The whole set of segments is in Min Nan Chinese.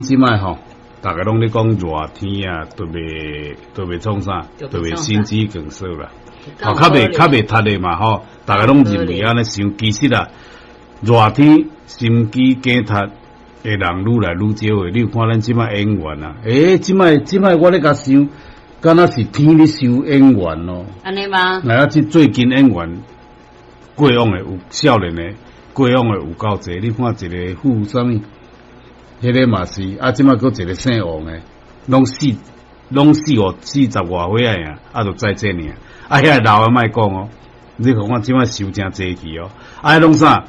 這擺吼，逐家攏咧講熱天啊，特別特別創啥？特別心肌梗塞啦，吼，較袂窒的嘛吼，逐家攏認為按呢想，其實啊，熱天心肌梗塞的人愈來愈少的。你有看咱這擺演員啊？欸，這擺我咧共想，敢若是天咧收演員咯。按呢嗎？來啊，這最近演員過往的有少年的，過往的有夠濟。你看一個傅啥物？彼个嘛是，啊，這擺閣一個姓王的，攏四五四十外歲仔爾，啊，就再見爾。啊，遐个老的莫講哦，你看看這擺收誠濟去哦。啊，彼攏啥？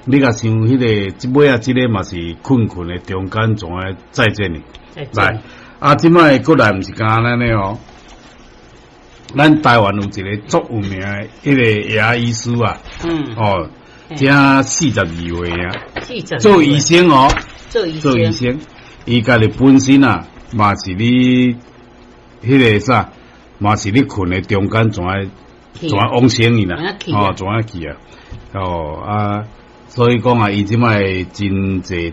你共想彼个，這尾仔這个嘛是睏睏的中間怎會再見爾？來，啊，這擺閣來毋是干按呢哦。咱台灣有一個足有名的彼个牙醫師啊，哦，才42歲啊，做醫生哦。做醫做醫生，伊家己本身啊，嘛是咧彼个啥，嘛是咧睏的中間怎愛怎往生去啦，哦，怎樣去啊？哦啊，所以講啊，伊這擺真濟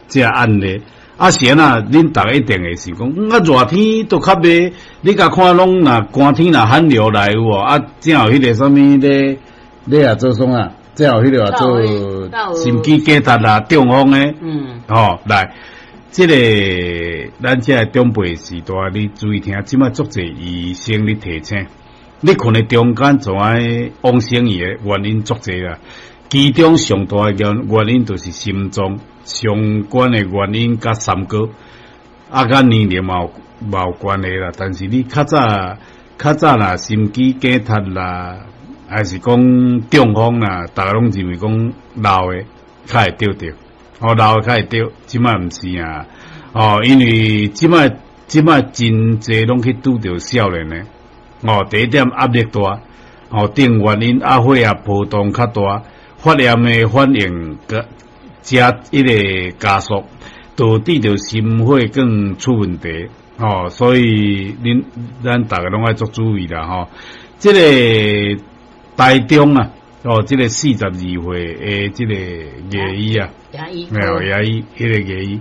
這案例，啊是按怎，恁逐家一定會想講，啊熱天都較袂，你共看攏若寒天若寒流來有無？啊，正有彼個啥物咧咧啊做創啊？最後彼個話做心肌梗塞啦、中風的，吼，來，這个咱這个長輩時代，你注意聽，這擺足濟醫生咧提醒，你睏的中間怎愛往生去的原因足濟啦，其中上大的原因就是心臟相關的原因，佮三高，啊，佮年齡嘛有關係啦。但是你較早較早啦，心肌梗塞啦，還是講中風啦，逐家攏認為講老的較會著著，哦，老的較會著，這擺毋是啊，哦，因為這擺真濟攏去拄著少年的，哦，第一點壓力大，哦，等原因啊，血壓波動較大，發炎的反應加加彼个加速，導致著心血管出問題，哦，所以恁咱逐家攏愛足注意啦，吼，這个台中啊，哦，這个42歲的這個牙醫啊，牙醫，沒有牙醫，彼个牙醫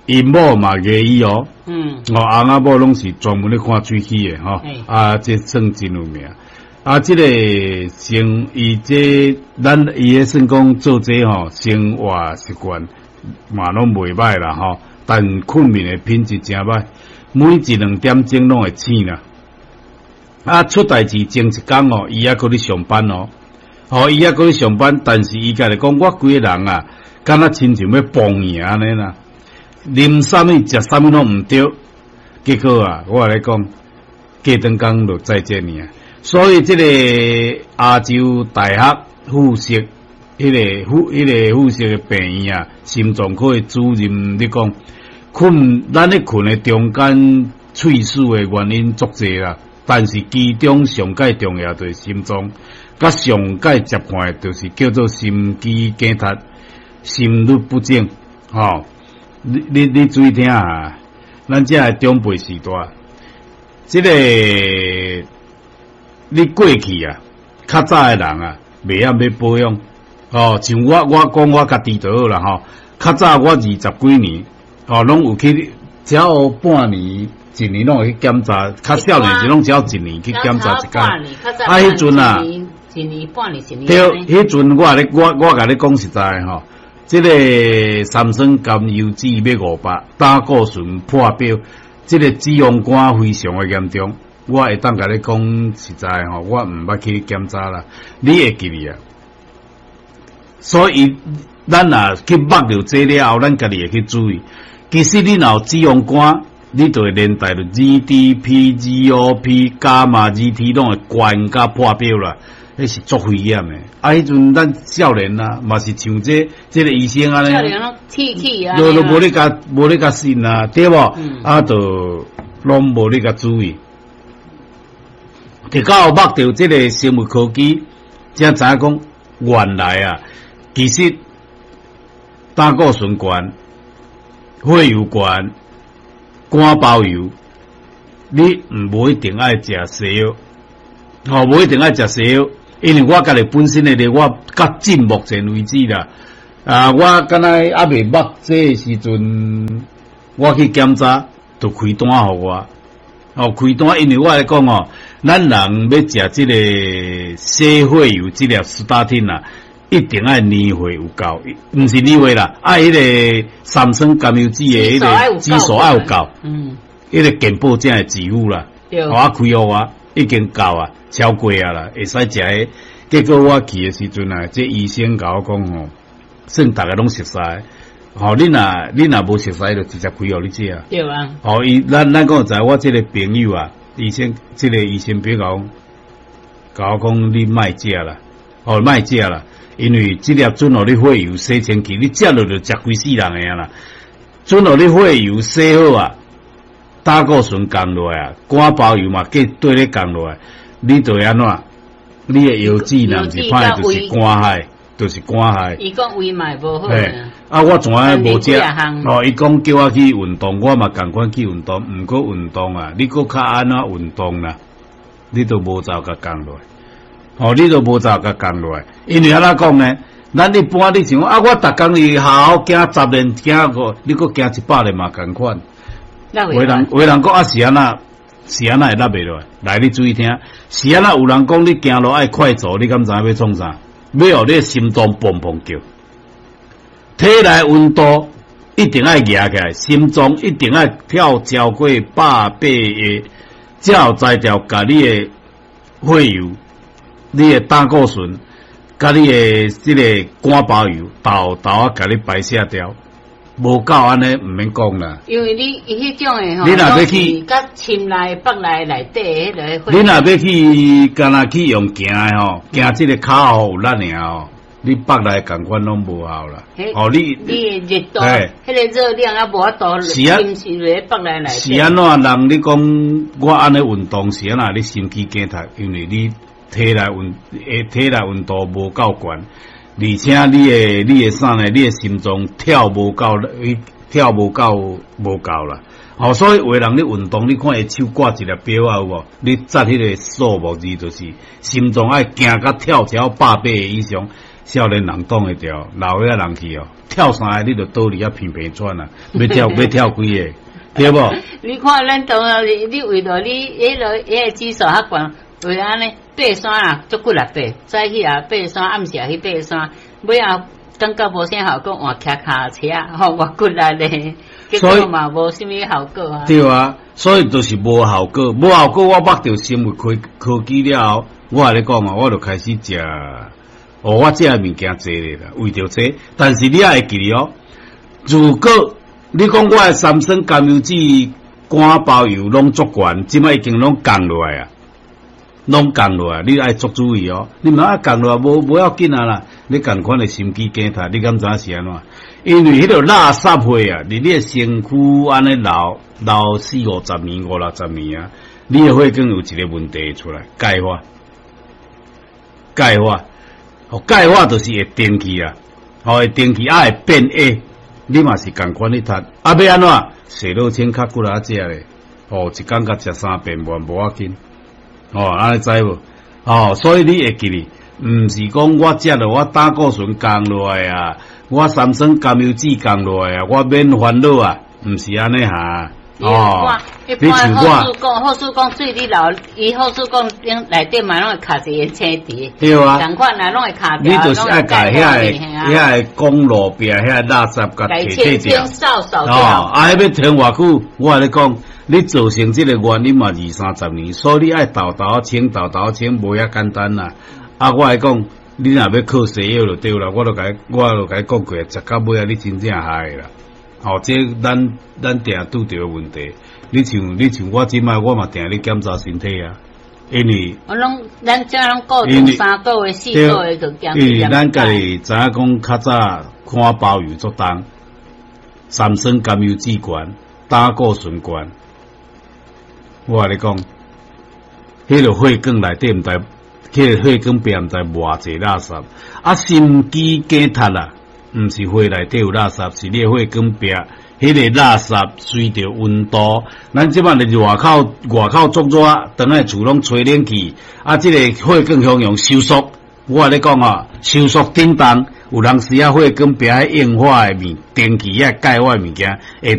，𪜶某嘛牙醫哦，哦，翁仔某攏是專門咧看喙齒的吼，啊，這算真有名。啊，這個生伊這咱伊咧算講做這吼生活習慣嘛攏袂䆀啦吼，但睏眠的品質誠䆀，每一兩點鐘攏會醒啦。啊，出代誌前一工哦，伊猶閣咧上班哦，吼，伊猶閣咧上班，但是伊家己講，我規個人啊，敢若親像欲崩去按呢啦，啉啥物食啥物攏毋對，結果啊，我共你講，過轉工就再見爾啊。所以這个亞洲大學附設彼个附設的病院啊，心臟科的主任咧講，睏咱咧睏的中間猝死的原因足濟啦。但是其中上蓋重要就是心臟，佮上蓋接看的就是叫做心肌梗塞、心律不整，吼，你注意聽啊！咱這个長輩時代，這个你過去啊，較早的人啊，袂曉欲保養，哦，像我講我家己就好啦，吼，較早我二十幾年，哦，攏有去，只要半年，一年攏會去檢查，較少年時攏只要一年去檢查一擺。啊，彼陣啊，一年半年一年。對，彼陣我咧，我共你講實在吼，這个三酸甘油酯欲500，膽固醇破表，這个脂肪肝非常的嚴重。我會當共你講實在吼，我毋捌去檢查啦。你會記得啊？所以咱若去目著這了後，咱家己會去注意。其實你若有脂肪肝，你就會連帶著 GDP、GOP、伽馬 GT 攏會懸佮破表啦，彼是足危險的。啊，彼陣咱少年啊，嘛是像這个醫生按呢，少年攏鐵齒啊，都無咧共信啊，對無？啊，就攏無咧共注意。直到目著這个生物科技，才知影講原來啊，其實膽固醇懸、血油懸、肝包油，你毋無一定愛食西藥，吼，無一定愛食西藥，因為我家己本身的咧，我到今目前為止啦，啊，我敢若猶未捌這个時陣，我去檢查，就開單予我。哦，開單，因為我來講哦，咱人欲食這个洗血油這粒斯大汀啊，一定愛年歲有夠，毋是年歲啦，愛彼个三酸甘油酯的彼个指數愛有夠。彼个健保才會給付啦。我開予我已經夠啊，超過啊啦，會使食彼。結果我去的時陣啊，這醫生共我講吼，算逐个攏熟似，吼，你若無熟似，就直接開予你食。對啊。吼，伊咱講實在，我這个朋友啊，醫生，這个醫生朋友共我講，你莫食啦，哦，莫食啦，因為這粒準予你血油洗清氣，你食落就食規世人的啊啦。準予你血油洗好啊，膽固醇降落來啊，肝包油嘛，計綴咧降落來，你就會按怎？你的腰子若毋是歹，就是肝害，就是肝害。伊講胃嘛無好。啊，我從來無食。哦，伊講叫我去運動，我嘛仝款去運動。毋過運動啊，你閣較按怎運動啦？你都無走共降落來。哦，你都無走共降落來。因為按怎講呢？咱一般你像啊，我逐工去學校行十練，行個，你閣行100練嘛仝款。有的人講啊，是按怎？是按怎會落袂落來？來，你注意聽，是按怎有人講你行路愛快走，你敢知影欲創啥？欲予你心臟砰砰叫，體內溫度一定愛夯起來，心臟一定愛跳超過180个，才有才調共你的血油、你的膽固醇、佮你的這个肝包油，沓沓仔共你排泄掉。無夠按呢，毋免講啦。因為你伊彼種的吼，你若欲去，佮心內腹內內底彼个。你若欲去，敢若去用行的吼，行這个跤步有力爾吼，你腹內仝款攏無效啦。哦，你你的熱度，彼个熱量啊無法度，是啊，侵入腹內內。是按怎人？你講我按呢運動是按怎？你心肌梗塞，因為你體內溫度無夠懸。而且你的啥呢？你的心臟跳無夠，跳無夠啦。哦，所以有的人咧運動，你看伊手掛一粒錶啊，有無？你紮彼个數目字，就是心臟愛行甲跳超180个以上，少年人擋會著，老歲仔人去哦，跳三个你就倒佇遐平平喘啊，欲跳幾个，對無？你看咱當啊，你為著你彼个指數較懸。為按呢爬山啊，足骨力爬，早起啊爬山，暗時也去爬山，尾仔感覺無啥效果，換騎跤車，吼，偌骨力咧，結果嘛無啥物效果啊。對啊，所以就是無效果，無效果。我捌著生物科技了後，我共你講啊，我就開始食，哦，我食的物件濟咧啦，為著這，但是你也會記得哦，如果你講我的三酸甘油酯、肝包油攏足懸，這擺已經攏降落來啊。攏降落來，你愛足注意哦。你毋愛降落來，無要緊啊啦。你仝款的心肌梗塞，你敢知影是按怎？因為彼个垃圾血啊，佇你的身軀按呢留留四五十年、五六十年啊，你的血管有一个問題出來，鈣化，鈣化，哦，鈣化就是會定去啊，哦，會定去啊，會變矮。你嘛是仝款咧讀，啊，欲按怎？洗腦清較骨力食咧，哦，一工共食三遍無無要緊。哦，按呢知無？哦，所以你會記得，毋是講我食了我膽固醇降落來啊，我三酸甘油酯降落來啊，我免煩惱啊，毋是按呢哈。哦，你像我，好事講水你流，伊好事講頂內底嘛攏會卡一個青滴。對啊。仝款啊，攏會卡。你就是愛共遐個公路壁遐垃圾共提掉。哦，啊，彼欲停偌久？我共你講。你造成這個原因嘛二三十年，所以你愛沓沓清，沓沓清，無遐簡單啦。啊，我來講，你若欲靠西藥就對啦，我就共你講過，食到尾啊，你真正害啦。哦，這咱定拄著的問題。你像我這擺，我嘛定咧檢查身體啊，因為我攏咱這攏固定3個月、4個月就檢。因為咱家己知影講較早看包油足重，三酸甘油酯懸，膽固醇懸。我共你講，彼个血管內底毋知，彼个血管壁毋知偌濟垃圾，啊，心肌梗塞啊，毋是血內底有垃圾，是你的血管壁，彼个垃圾隨著溫度，咱這擺佇外口足熱，轉來厝攏吹冷氣，啊，這个血管向用收縮，我共你講啊，收縮振動，有當時啊，火光壁彼硬化的物，電器遐鈣化的物件會怎